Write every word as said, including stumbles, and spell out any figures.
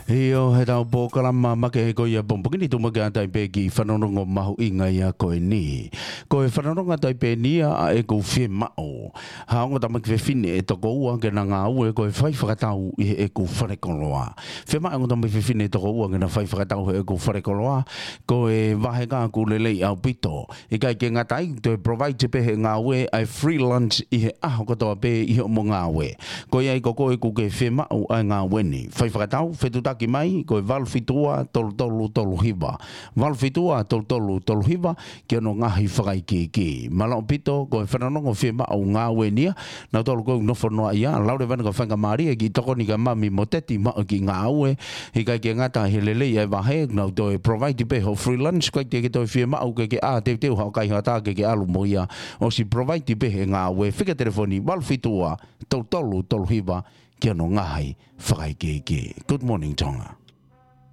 ʻIo, heʻetau polokalama makehe ko ia pongipongi ni, tuku muʻa ke ʻatā pē ki he fanongonongo mahuʻinga ia ko eni. Ko e fanongonongo ʻatā pē eni ia ʻa ʻeku fiemaʻu ha ongo tamaiki fefine ʻe toko ua ke na ngāue ko e fai fakatau ʻi heʻeku falekoloa. Fiemaʻu e ongo tamaiki fefine ʻe toko ua ke na fai fakatau heʻeku falekoloa, ko e vahenga ʻoku lelei ʻaupito. ʻIkai ke ngata ai, toe provide pē ʻe he ngāue ʻa e free lunch ʻi he ʻaho kotoa pē ʻi hoʻomo ngāue. Ko ia ai ko koe ʻoku ke fiemaʻu ʻa e ngāue ni, fai fakatau, fetuʻutaki mai, ko e valu fitu ua tolu tolu tolu hiva. Valu fitu ua tolu tolu tolu hiva, ki hono ngaahi fakaikiiki. Mālō ʻaupito, ko e fanongonongo fiemaʻu ngāue ni ia, nautolu ʻoku nofo noa ia, lau leva ʻena ko e faingamālie ke tokoni kia Mami mo Teti maʻu e kiʻi ngāue, ʻikai ke ngata he lelei ʻa e vahe, nau toe provide pē hoʻo free lunch, ko ia te ke toe fiemaʻu ke ke ʻā teuteu haʻo kaihaʻa ke ke ʻalu mo ia, ʻosi provide pē ʻe he ngāue, fika telefoni valu fitu ua tolu tolu tolu hiva, ki hono ngaahi fakaikiiki. Good morning, Tonga.